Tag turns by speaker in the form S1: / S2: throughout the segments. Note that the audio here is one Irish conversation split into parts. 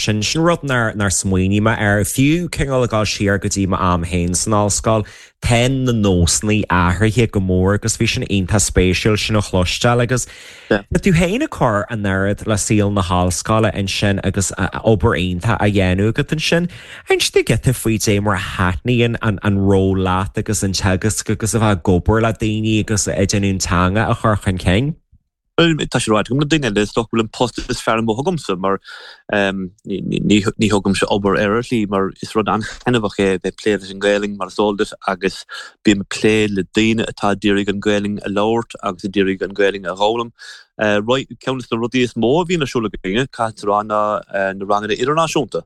S1: Sin sin rud nár nár smaoinigh mé air, fiú cineál ag dul siar go dtí m'am féin san ollscoil, tá na nósanna athraithe go mór agus bhí sin iontach spéisiúil sin a chloisteáil agus tá tú féin ag cur an oiread le saol na hollscoile ansin agus obair iontach á dhéanamh agat ansin. Inis dúinn giota faoi dé mar a thaitníonn an an ról leat agus an teagasc agus a bheith ag obair le daoine agus ag déanamh an teanga a chur chun cinn.
S2: Tá sé ráite agam le daoine eile, is dócha go bhfuil an post is fearr amuigh agamsa mar ní thugaimse obair air ar shlí mar is rud an-thaitneamhach é a bheith ag plé leis an Ghaelainn mar is eol duit agus bím ag plé le daoine atá ag iarraidh an Ghaelainn a labhairt agus ag iarraidh an Ghaelainn a dh'fhoghlaim. Ceann de na rudaí is mó a bhíonn ar siúl againne, caithfidh tú a rá, ná na ranganna idirnáisiúnta.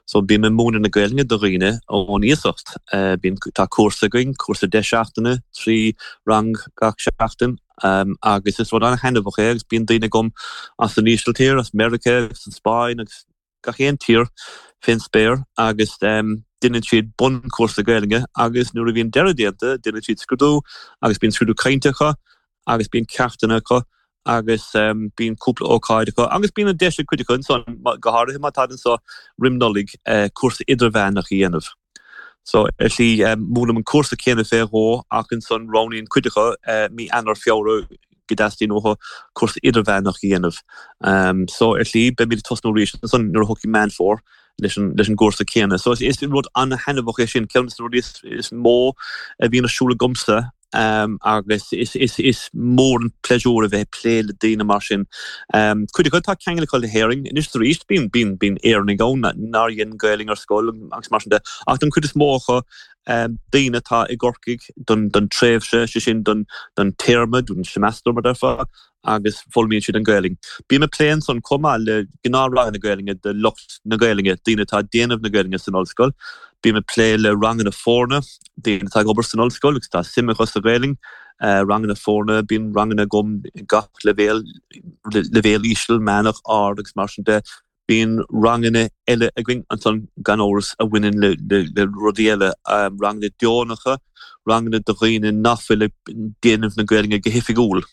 S2: So bím ag múineadh na Gaelainne do dhaoine ón iasacht. Bíonn, tá cúrsa againn, cúrsa 10 seachtaine, 3 rang gach seachtain. Agus is rud an-thaitneamhach é agus bíonn daoine agam as an Ísiltír, as Meiriceá agus an Spáinn agus gach aon tír fén spéir agus deineann siad bunchúrsa Gaelainne agus nuair a bhíonn deireadh déanta deineann siad scrúdú agus bíonn scrúdú cainte acu agus bíonn ceachtanna acu agus bíonn cúpla ócáid acu agus bíonn an deis ag cuid acu ansan, go háirithe má táid anso roim Nollaig, cúrsa idirmheánach a dhéanamh. So, ar shlí, múinim an cúrsa céanna fé dhó ach ansan roghnaíonn cuid acu mí Eanáir, Feabhra go dteastaíonn uathu cúrsa idirmheánach a dhéanamh. So, ar shlí, beimid ag tosnú arís ansan nuair a thiocfaidh Meán Fómhair leis an leis an gcúrsa céanna. So, is rud an-thaitneamhach é sin, ceann de na rudaí is mó a bhíonn ar siúl agamsa. Agus is mór an pléisiúr a bheith ag plé le daoine mar sin. Cuid acu, tá ceangal acu le hÉirinn. Anois is arís, bíonn, bíonn, bíonn Éireannaigh ann nár dhein Gaelainn ar scoil agus mar sin de. Ach don chuid is mó acu, daoine atá i gCorcaigh don, don tréimhse, sé sin don, don téarma, don seimeastar mar déarfá, agus foghlaimíonn siad an Ghaelainn. Bím ag plé ansan chomh maith le gnáthranganna Gaelainne do lucht na Gaelainne, daoine atá ag déanamh na Gaelainne san ollscoil. Bím ag plé le ranganna foirne, daoine atá ag obair san ollscoil agus tá suim acu sa Ghaelainn. Ranganna foirne, bíonn ranganna agam ag gach leibhéal, leibhéal íseal, meánach, ard agus mar sin de. Bíonn ranganna eile againn ansan gan amhras a bhaineann le rudaí eile, ranganna deonacha, ranganna do dhaoine nach bhfuil ag déanamh na Gaelainne go hoifigiúil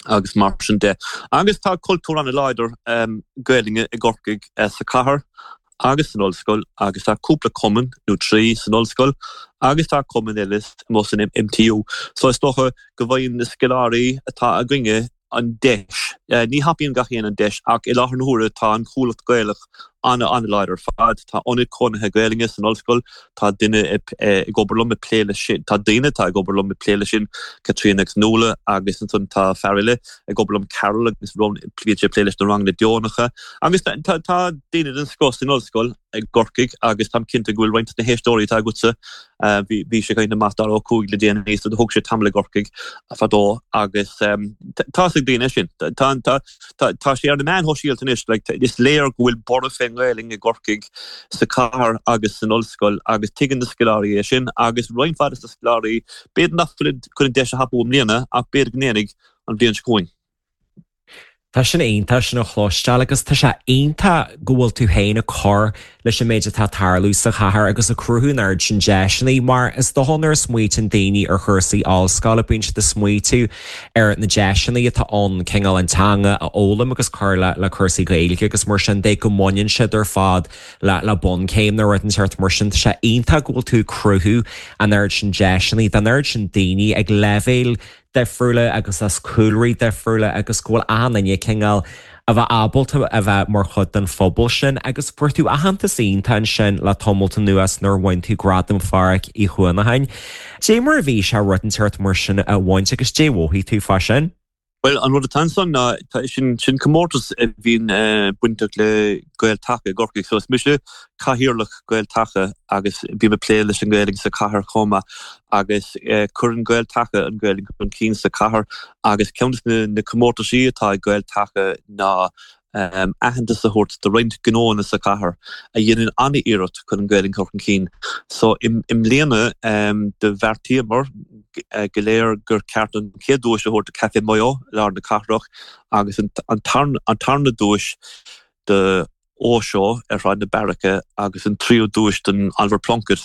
S2: agus mar sin de. Agus tá cultúr an-láidir Gaelainne i gCorcaigh sa chathair agus san ollscoil agus tá cúpla cumann nó 3 san ollscoil agus tá cumann eile amuigh san MTU. So is dócha go bhfaigheann na scoláirí atá againne an deis. Ní thapaíonn gach éinne an deis ach i láthair na huaire tá an Chuallacht Gaelach an-an-láidir ar fad. Tá ionad cónaithe Gaelainne san ollscoil, tá duine ag obair liom ag plé leis sin, tá daoine atá ag obair liom ag plé leis sin, Caitríona agus Nuala agus ansan tá fear eile ag obair liom, Carol agus bíonn sé ag plé leis na ranganna deonacha agus tá daoine den scoth san ollscoil i gCorcaigh agus táim cinnte go bhfuil roinnt de na héisteoirí atá agatsa, bhí mise ag caint le Mac Dara Ó Cuaig le déanaí so thóg sé tamall i gCorcaigh fadó agus tá fhios ag daoine sin. Tá tá sé ar na meáin shóisialta anois, like, is léir go bhfuil borradh fén nGaelainn i gCorcaigh, sa chathair agus san ollscoil agus tuigeann na scoláirí é sin agus roinnt mhaith de na scoláirí, b'fhéidir nach bhfuil chun an deis a thapú i mbliana ach b'fhéidir go ndéanfaidh an bhliain seo chugainn.
S1: Tá sin iontach sin a chloisteáil agus tá sé iontach go bhfuil tú féin ag cur leis an méid atá ag tarlú sa chathair agus ag cruthú an oiread sin deiseanna mar is dócha nuair a smaoitíonn daoine ar chúrsaí ollscoile bíonn siad ag smaoitiú ar na deiseanna atá ann cineál an teanga a fhoghlaim agus cur le le cúrsaí Gaeilge agus mar sin de go mbaineann siad ar fad le le bunchéim nó rud inteacht mar sin. Tá sé iontach go bhfuil tú ag cruthú an oiread sin deiseanna don oiread sin daoine ag leibhéil difriúla agus as cúlraí difriúla agus go bhfuil achan duine cineál a bheith ábalta a bheith mar chuid den phobal sin agus fuair tú aitheantas iontach ansin le tamalt anuas nuair a bhain tú Gradam Phádraig Uí Chuanacháin. Dé mar a bhí sé rud inteacht mar sin a bhaint agus dé mhothaigh tú fá sin?
S2: Bhuel, an rud atá ansan ná, sin, sin comórtas a bhíonn bainteach le Gael Taca i gCorcaigh. So is mise cathaoirleach Gael Taca agus bím ag plé leis an Ghaeilge sa chathair chomh maith agus cuireann Gael Taca an Ghaeilge chun cinn sa chathair agus ceann de na comórtaisí atá ag Gael Taca ná aitheantas a thabhairt do roinnt gnóanna sa chathair a dhéanann an-iarracht chun an Ghaeilge a chur chun cinn. So i mbliana do bheartaíomar go léir gur ceart an chéad duais a thabhairt do Café Maigh Eo i lár na cathrach agus an tarna duais do Óseó ar Shráid na Beairice agus an tríú duais don Oliver Plunkett.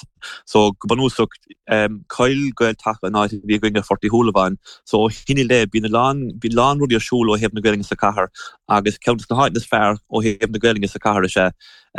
S2: So go bunúsach chaill Gael Taca an áit a bhí againn ar Phort Uí Shúilleabháin. So ó shin i leith bíonn a lán bíonn a lán rudaí ar siúl ó thaobh na Gaeilge sa chathair agus ceann de na háiteanna is fearr ó thaobh na Gaeilge sa chathair is ea.